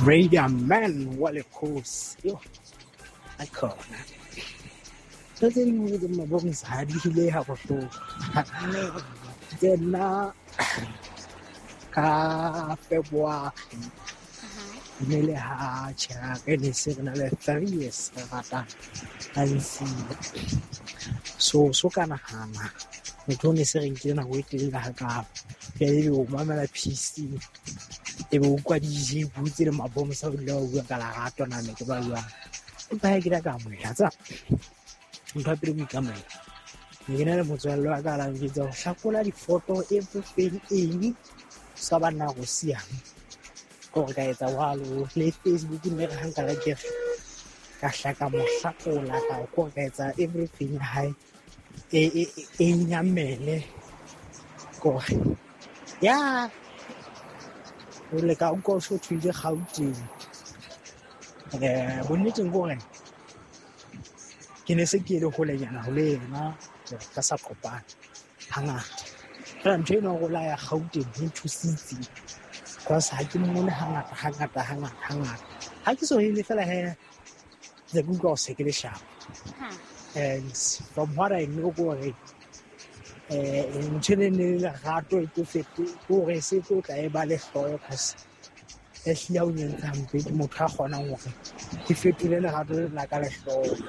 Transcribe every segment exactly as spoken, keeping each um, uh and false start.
Radio Man wa lekgosi. Yo, akhona. Ntho tse dingwe tse mabonisa ha di hile ha bohloko. Ke nna ka February ne le ha tjha ke ne se re na le three years re ratana a nsiya. So so ka nahana motho o ne se re nkile nako e telele hakalo. Jwale ebe o mamela P C ebe o utlwa D J butse le mabomsa o dula o bua ka lerato na ne ke ba jwang. Empa ha ke ile ka amohela tsa ntho ya pele ko ikamohela. Ne ke na le motswalle wa ka a la njwetsa ho hlakola difoto everything eng sa ba nna go siame. Ke hore ka etsa jwalo le Facebook mme re ha nka la ke re ka hla ka mo hlakola ka ko ka etsa everything ya hae e e e nyamele kore ya o le ka utlwa o so thwile Gauteng. Eh bonneteng ke hore ke ne se ke le holenyana ho le yena ka sa kopana hangata. Fela ntho eno ya hore o la ya Gauteng e nthusitse because ha ke mmone hangata hangata hangata hangata. Ha ke so hele fela he ntse ke utlwa hore se ke le sharp. And from what I know ke hore eh ntho ene ne le lerato e tlo fete ke hore se tlo tla e ba lehloyo cause ehlile ha o nyentse hampe ke motho a kgonang hore ke fetole lerato lena ka lehloyo.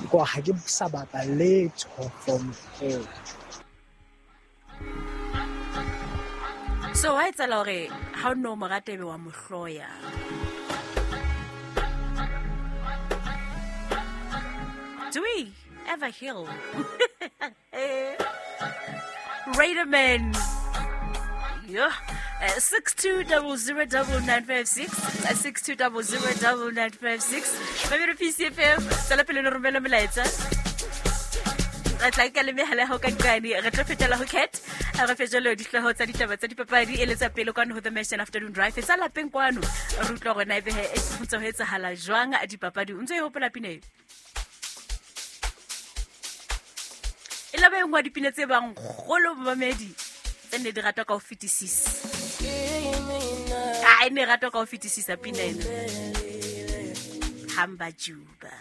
Ke hore ha ke sa batla letho from her. So wa etsahala hore ha o no mo rata ebe wa mo hloya. Do we ever heal? Raider Man. Yeah. Uh, six two double zero double nine five six uh, six two double zero double nine five six. Mamelo P C F M tswela pele le romela molaetsa. Re tla nka le mehala ya hao ka nqane, re tlo fetela ho Cat. Re fe jalo dihlooho tsa ditaba tsa dipapadi e le tsa pele kwano ho The Nation Afternoon Drive. Tsa lapeng kwano re utlwa hore na ebe he ho ntse ho etsahala jwang dipapadi. O ntse o e hopola pina eo? E la ba e nngwe ya dipina tse bang kgolo momamedi tse ne di ratwa ka ho fetisisa. Ah, e ne ratwa ka ho fetisisa pina ena. Hamba Juba.